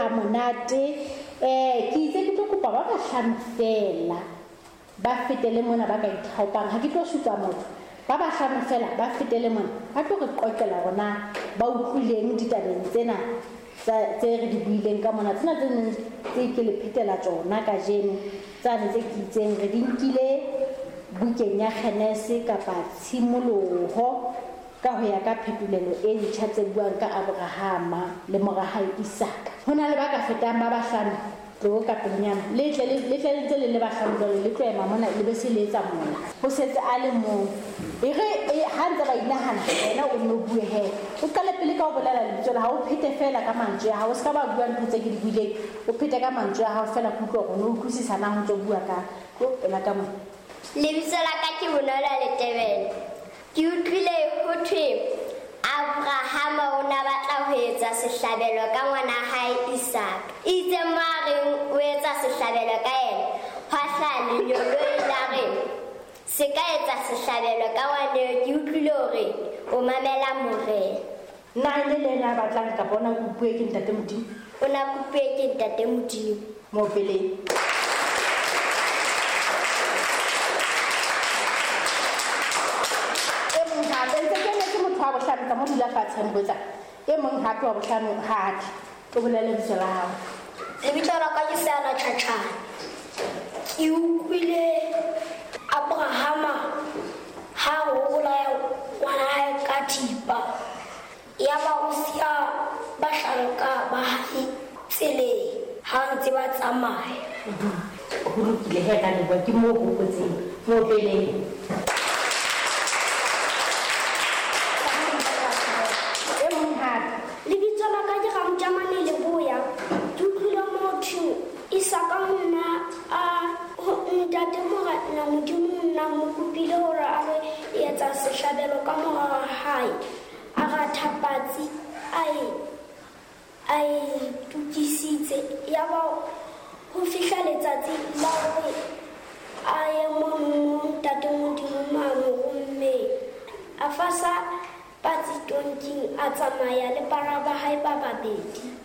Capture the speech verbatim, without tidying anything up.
ha monate. Eh ke itse ke tlo kopa ba bahlano fela ba fetele mona ba ka ithaopang, ha ke tlo supa motho. Ba bahlano fela ba fetele mona ba tlo re qoqela hore na ba utlwileng ditabeng tsena tse re di buileng ka mona, tsena tse neng tse ke le phetela tsona kajeno, tsane tse ke itseng re di nkile bukeng ya Genese kapa Tshimoloho ka ho ya ka phetolelo e ntjha tse buang ka Abrahama le mora hae Isaka. Ho na le ba ka fetang ba bahlano, tlo ka pelenyana le tle le tle le ntse le le bahlano jwale, le tlo ema mona le be se le etsa mola ho setse a le mong. E re ha ntse ba inahana wena o nno bue he, o qale pele ka ho bolela lebitso la hao, o phete fela ka mantswe a hao, o ska ba bua ntho tse ke di buileng, o phete ka mantswe a hao fela, ke utlwe hore o utlwisisa na ho ntso bua ka tlo pela ka mona. Lebitso la ka ke Bonolo Letebele. Ke utlwile ho thwe Abrahama o na batla ho etsa sehlabelo ka ngwana hae Isaka. Itse mo a reng o etsa sehlabelo ka yena, hwa hlaha lengeloi la re se ka etsa sehlabelo ka ngwana. Ke utlwile hore o mamela Morena. Na e le le yena a batlang kapa o na kopuwe ke Ntate Modimo? O na kopuwe ke Ntate Modimo. Mo peleng. Wa bohlano ka mo dula fatshe mpotsa. E mong hape wa bohlano ha tle. O bolele lebitso la hao. Lebitso la ka ke Sara Tjhatjhane. Ke utlwile Abrahama ha o bolaya ngwana hae ka thipa, yaba o siya bahlanka ba hae tseleng ha ntse ba tsamaya. Ho lokile he ka leboha, ke moo hopotseng mo peleng. Lebitso la ka ke Ramjamane Leboya. Ke utlwile motho Isaka monna a ntate Morena Modimo nna mo kopile hore a re etsa sehlabelo ka mora wa hae. A ratha patsi a e a e tukisitse, yaba ho fihla letsatsi la hore a ye mono ntate Modimo ma mo rommeng. A fasa patsi tonking a tsamaya le bara ba hae ba babedi.